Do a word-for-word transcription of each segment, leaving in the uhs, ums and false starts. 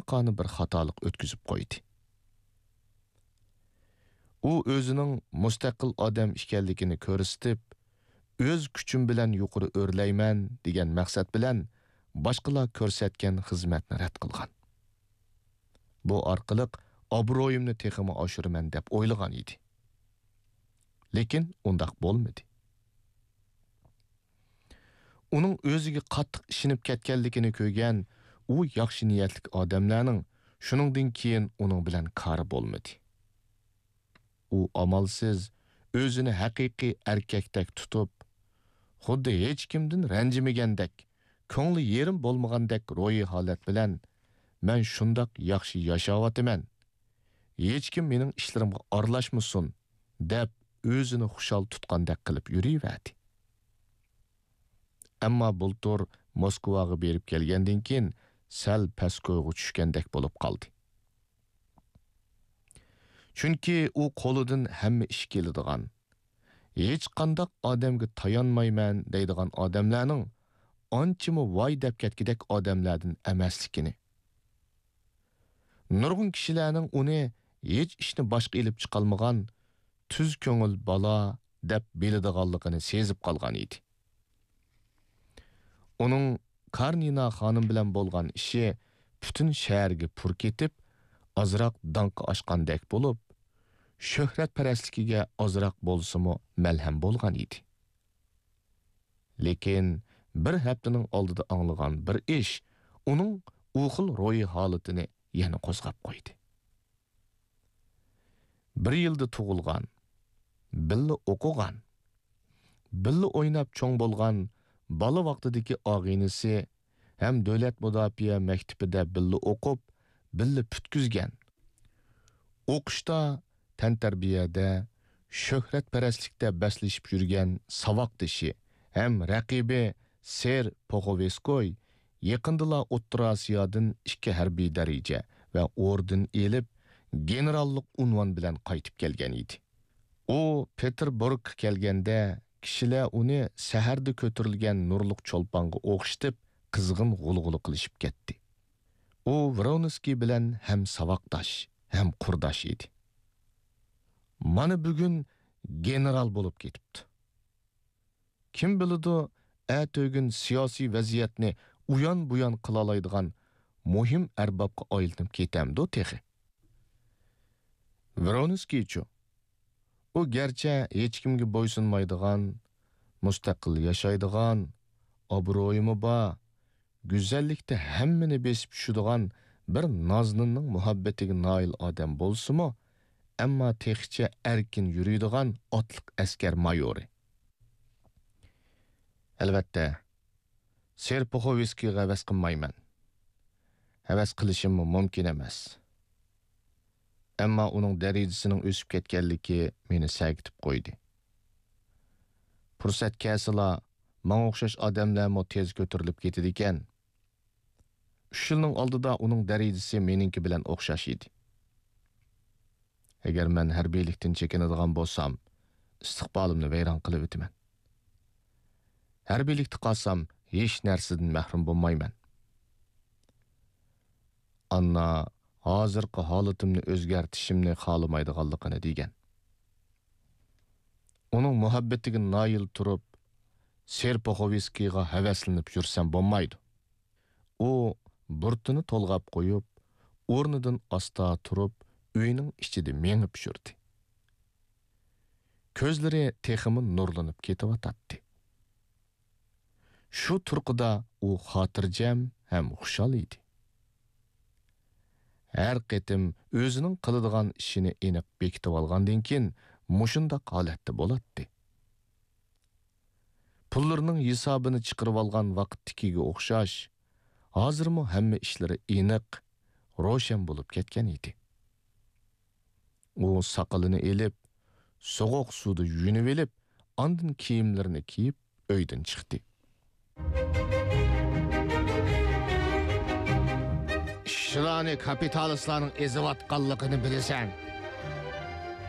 ئاچچىققانە بىر خاتالىق ئۆتكۈزۈپ قويدى. ئۇ ئۆزىنىڭ مۇستەقىل ئادەم ئىكەنلىكىنى كۆرسىتىپ، ئۆز كۈچۈم بىلەن يۇقىرى ئۆرلەيمەن دېگەن مەقسەت بىلەن باشقىلار كۆرسەتكەن خىزمەتنى رەت قىلغان. بۇ ئارقىلىق ئابرۇيۇمنى تېخىمۇ ئاشۇرىمەن دەپ ئويلىغان ئىدى. لېكىن ئۇنداق بولمىدى. ئۇنىڭ ئۆزىگە قاتتىق ئىشىنىپ كەتكەنلىكىنى كۆرگەن ئۇ ياخشى نىيەتلىك ئادەملەرنىڭ شۇنىڭدىن كېيىن ئۇنىڭ بىلەن كارى بولمىدى. ئۇ ئامالسىز ئۆزىنى ھەقىقىي ئەركەكتەك تۇتۇپ، خۇددى ھېچكىمدىن رەنجىمىگەندەك، كۆڭلى يېرىم بولمىغاندەك روھىي ھالەت بىلەن، «مەن شۇنداق ياخشى ياشاۋاتىمەن، ھېچكىم مېنىڭ ئىشلىرىمغا ئارىلاشمىسۇن» دەپ، ئۆزىنى خۇشال تۇتقاندەك قىلىپ يۈرۈۋەردى. ئەمما بۇلتۇر موسكۋاغا بېرىپ كەلگەندىن كېيىن سەل پەس كويغا چۈشكەندەك بولۇپ قالدى. چۈنكى ئۇ قولىدىن ھەممە ئىش كېلىدىغان، ھېچقانداق ئادەمگە تايانمايمەن دەيدىغان ئادەملەرنىڭ ئانچىمۇ ۋاي دەپ كەتكۈدەك ئادەملەردىن ئەمەسلىكىنى، نۇرغۇن كىشىلەرنىڭ ئۇنى ھېچ ئىشنى باشقا ئېلىپ چىقالمىغان تۈز كۆڭۈل بالا دەپ بىلىدىغانلىقىنى سېزىپ قالغان ئىدى. ئۇنىڭ كارنىنا خانىم بىلەن بولغان ئىشى پۈتۈن شەھەرگە پۇر كېتىپ، ئازراق داڭقى ئاشقاندەك بولۇپ، شۆھرەتپەرەسلىكىگە ئازراق بولسىمۇ مەلھەم بولغان ئىدى. لېكىن بىر ھەپتىنىڭ ئالدىدا ئاڭلىغان بىر ئىش ئۇنىڭ ئۇ خىل روھىي ھالىتىنى يەنە قوزغاپ قويدى. بىر يىلدا تۇغۇلغان، بىللە ئوقۇغان، بىللە ئويناپ چوڭ بولغان بالا ۋاقتىدىكى ئاغىنىسى ھەم دۆلەت مۇداپىئە مەكتىپىدە بىللە ئوقۇپ، بىللە پۈتكۈزگەن، ئوقۇشتا، تەنتەربىيەدە، شۆھرەتپەرەسلىكتە بەسلىشىپ يۈرگەن ساۋاقدىشى ھەم رەقىبى سېر پوخوۋېسكوي يېقىندىلا ئوتتۇرا ئاسىيادىن ئىككى ھەربىي دەرىجە ۋە ئوردېن ئېلىپ، گېنېراللىق ئۇنۋان بىلەن قايتىپ كەلگەن ئىدى. ئۇ پېتېربۇرگقا كەلگەندە، كىشىلەر ئۇنى سەھەردە كۆتۈرۈلگەن نۇرلۇق چولپانغا ئوخشىتىپ، قىزغىن غۇلغۇلا قىلىشىپ كەتتى. ئۇ ۋرونسكىي بىلەن ھەم ساۋاقداش، ھەم قۇرداش ئىدى. مانا بۈگۈن گېنېرال بولۇپ كېتىپتۇ. كىم بىلىدۇ، ئەتىگۈن سىياسىي ۋەزىيەتنى ئۇيان-بۇيان قىلالايدىغان مۇھىم ئەربابقا ئايلىنىپ كېتەمدۇ تېخى؟ ۋرونسكىيچۇ؟ ئۇ گەرچە ھېچكىمگە بويسۇنمايدىغان، مۇستەقىل ياشايدىغان، ئابرۇيىمۇ بار، گۈزەللىكتە ھەممىنى بېسىپ چۈشىدىغان بىر نازنىننىڭ مۇھەببىتىگە نائىل ئادەم بولسىمۇ، ئەمما تېخىچە ئەركىن يۈرىدىغان ئاتلىق ئەسكەر مايورى. ئەلۋەتتە، سېر پوخوۋسكىيغا ھەۋەس قىلمايمەن. ھەۋەس قىلىشىممۇ مۇمكىن ئەمەس. ئەمما ئۇنىڭ دەرىجىسىنىڭ ئۆسۈپ كەتكەنلىكى مېنى سەگىتىپ قويدى. پۇرسەت كەلسىلا، ماڭا ئوخشاش ئادەملەرمۇ تېز كۆتۈرۈلۈپ كېتىدىكەن. ئۈچ يىلنىڭ ئالدىدا ئۇنىڭ دەرىجىسى مېنىڭكى بىلەن ئوخشاش ئىدى. ئەگەر مەن ھەربىيلىكتىن چېكىنىدىغان بولسام، ئىستىقبالىمنى ۋەيران قىلىۋېتىمەن. ھەربىيلىكتە قالسام، ھېچ نەرسىدىن مەھرۇم بولمايمەن. ئاننا ھازىرقى ھالىتىمنى ئۆزگەرتىشىمنى خالىمايدىغانلىقىنى دېگەن. ئۇنىڭ مۇھەببىتىگە نايىل تۇرۇپ، سېر پوخوۋسكىيغا ھەۋەسلىنىپ يۈرسەم بولمايدۇ. ئۇ بۇرۇتىنى تولغاپ قويۇپ، ئورنىدىن ئاستا تۇرۇپ، ئۆينىڭ ئىچىدە مېڭىپ يۈردى. كۆزلىرى تېخىمۇ نۇرلىنىپ كېتىۋاتاتتى. شۇ تۇرقىدا ئۇ خاتىرجەم ھەم خۇشال ئىدى. ھەر قېتىم ئۆزىنىڭ قىلىدىغان ئىشىنى ئېنىق بېكىتىۋالغاندىن كېيىن، مۇشۇنداق ھالەتتە بولاتتى. پۇللىرىنىڭ ھېسابىنى چىقىرىۋالغان ۋاقىتتىكىگە ئوخشاش، ھازىرمۇ ھەممە ئىشلىرى ئېنىق، روشەن بولۇپ كەتكەن ئىدى. ئۇ ساقىلىنى ئېلىپ، سوغۇق سۇدا يۇيۇنۇۋېلىپ، ئاندىن كىيىملىرىنى كىيىپ، ئۆيدىن چىقتى. ئىشچىلارنى كاپىتالىستلارنىڭ ئېزىۋاتقانلىقىنى بىلىسەن.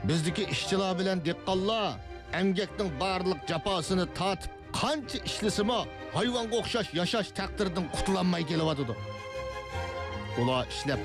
بىزدىكى ئىشچىلار بىلەن دېھقانلار ئەمگەكنىڭ بارلىق جاپاسىنى تارتىپ، قانچە ئىشلىسىمۇ، ھايۋانغا ئوخشاش ياشاش تەقدىرىدىن قۇتۇلالماي كېلىۋاتىدۇ. ئۇلار ئىشلەپ